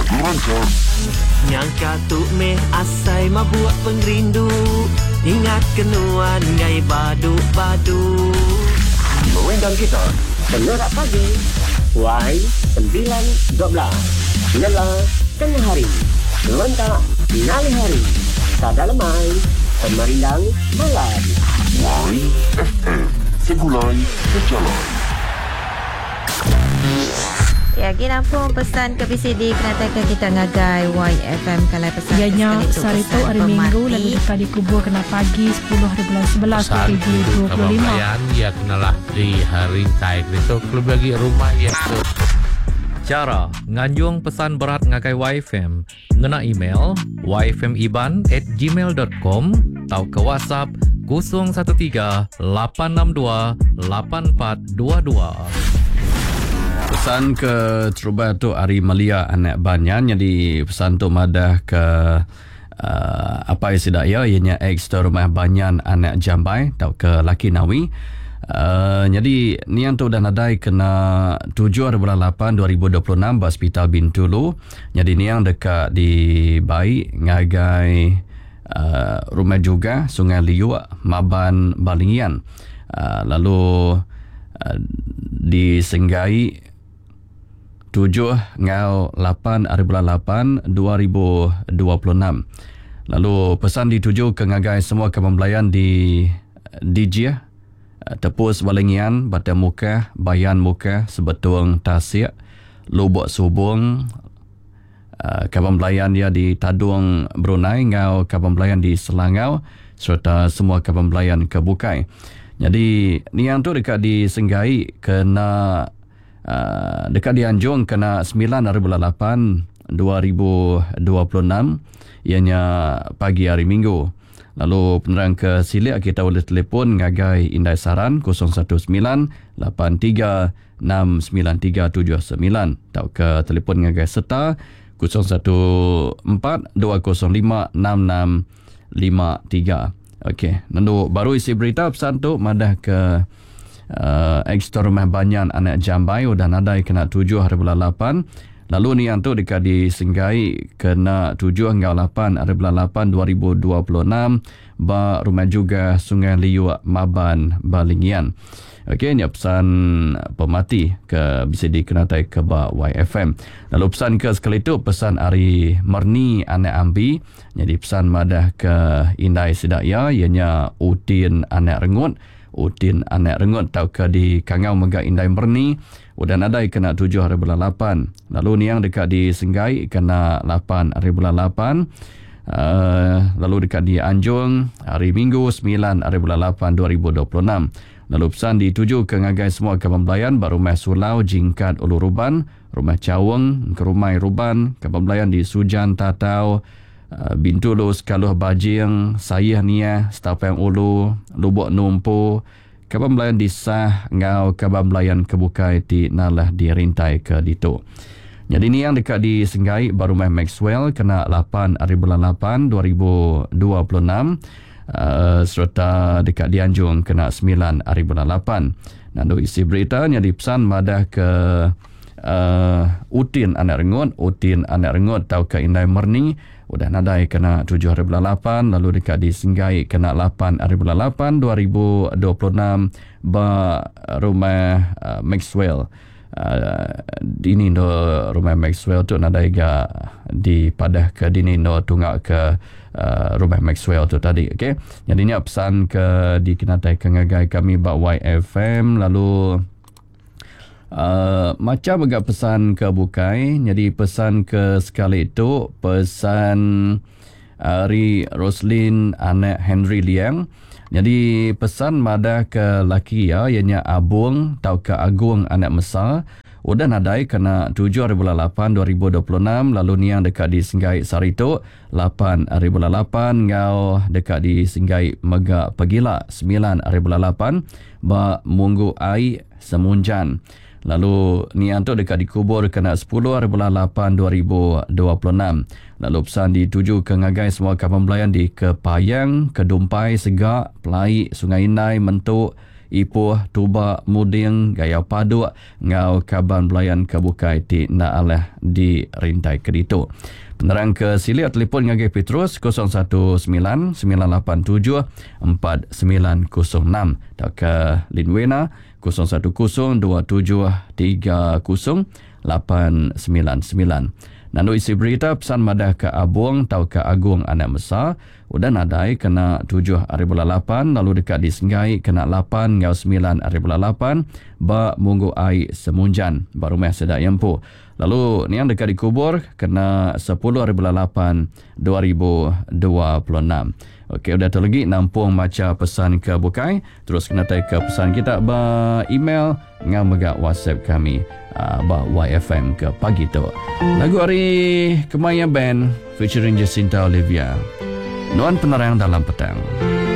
Lagu rancak. Nyangka tu meh asai mabuk pengerindu Ingat ke nuan ngai badu badu. Merindang kita Pengerak pagi Y 9 12 Ngela tengah hari Ngelentak ngalih hari Sada lemai Pemerindang malam. YFM Segulai Sejalai. Ya, agi nampung pesan ke bisi dikenataika kita ngagai YFM kalai pesan Iya ke nya sekali tu sehari tu pesan hari Minggu pemati. lalu deka dikubur kena pagi sepuluh hari bulan 11 Pesan indu kaban 2025. belayan iya kenalah di rintai ditu kelebih agi rumah iya ke. Chara nganjung pesan berat ngagai YFM ngena email yfmiban at gmail dot com tauka WhatsApp 013 862 8422. Pesan ke terubah tu ari Melia anak Banyan nyadi pesan tu madah ke uh, apai sida iya iya nya ex tu rumah Banyan anak Jambai tauka laki Nawi. Uh, nyadi niang tu udah nadai kena 7 hari bulan 8 2026 ba Hospital Bintulu. Nyadi niang deka dibai ngagai uh, rumah juga Sungai Liuk Maban Balingian. Uh, lalu uh, disenggai 7 enggau 8 hari bulan 8 2026. Lalu pesan dituju ke ngagai semua kaban belayan di Dijih, Tepus Balingian, Batang Mukah, Bayan Mukah, Sebetung Tasik, Lubok Subung, kaban belayan iya di Tadong Brunei enggau kaban belayan di Selangau sereta semua kaban belayan ke bukai. Nyadi niang tu deka disenggai kena uh, deka dianjung kena 9 hari bulan 8 2026 iya nya pagi hari Minggu. Lalu penerang ke silik kita ulih telefon ngagai Indai Saran 019 83 69379 tauka telefon ngagai Seta 014 205 6653. Okey, nendu baru isi berita pesan tu madah ke uh, ex rumah Banyan anak Jambai udah nadai kena 7 hari bulan 8. Lalu niang tu deka disenggai kena 7 enggau 8 hari bulan 8 2026 ba rumah juga Sungai Liuk Maban Balingian. Okey, nya pesan pemati ke bisa dikenatai ke ba YFM. Lalu pesan ke sekali tu pesan ari Merni anak Ambi. Jadi pesan madah ke indai sida iya ianya Utin anak Rengut. Utin anak Rengut tauka di Kangau mega indai Merni udah nadai kena 7 hari bulan 8. Lalu niang deka disenggai kena 8 hari bulan 8. Lalu deka dianjung hari Minggu 9 hari bulan 8 2026. Lalu pesan dituju ke ngagai semua kaban belayan ba rumah Sulau Jingkat Ulu Ruban, rumah Chaung Kerumai Ruban, kaban belayan di Sujan Tatau, Bintulu Sekaluh Bajing, Sayih Niah, Setapang Ulu, Lubok Numpu, kaban belayan di Sah enggau kaban belayan ke bukai ti nalah dirintai ke ditu. Nyadi niang deka disenggai ba rumah Maxwell kena 8 hari bulan 8 2026 uh, sereta deka dianjung kena 9 hari bulan 8. Nandu isi berita nyadi pesan madah ke uh, Utin anak Rengut, Utin anak Rengut tauka Indai Merni udah nadai kena 7 hari bulan 8 lalu deka disenggai kena 8 hari bulan 8 2026 ba rumah Maxwell. Dini endo rumah Maxwell tu nadai ga dipadah ke dini endo tunga ke rumah Maxwell tu tadi. Okey. Jadi nya pesan ke dikenatai ke ngagai kami ba YFM lalu macam mega pesan ke bukai. Jadi pesan ke sekali tu pesan ari Roslin anak Henry Liang. Jadi pesan madah ke laki iya iya nya Abung tauka Agung anak Mesa udah nadai kena 7 hari bulan 8 2026 lalu niang deka disenggai sehari tu 8 hari bulan 8 enggau deka disenggai mega pegila 9 hari bulan 8 ba Munggu Ai Semunjan. Lalu niang tu deka dikubur kena 10 hari bulan 8 2026. Lalu pesan dituju ke ngagai semua kaban belayan di Kepayang, Kedumpai, Sega, Pelai, Sungai Indai, Mentu, Ipoh, Tuba, Muding, Gayau Paduk enggau kaban belayan ke bukai ti enda alah dirintai ke ditu. Penerang ke silik telefon ngagai Petrus 019 987 4906 tauka Linwena 010 27 30 899. Nandu isi berita pesan madah ke Abong tauka Agung Anak Mesa udah nadai kena tujuh ari bulan lapan lalu deka disenggai kena lapan enggau semilan ari bulan lapan ba Munggu Ai Semunjan ba rumah sida iya empu lalu niang deka dikubur kena sepuluh ari bulan lapan 2026. Okey udah tu lagi nampung macha pesan ke bukai terus kena tai ke pesan kita ba email enggau mega WhatsApp kami uh, ba YFM ke pagi tu. Lagu ari Kemaya Band featuring Jacinta Olivia. Nuan penerang dalam petang.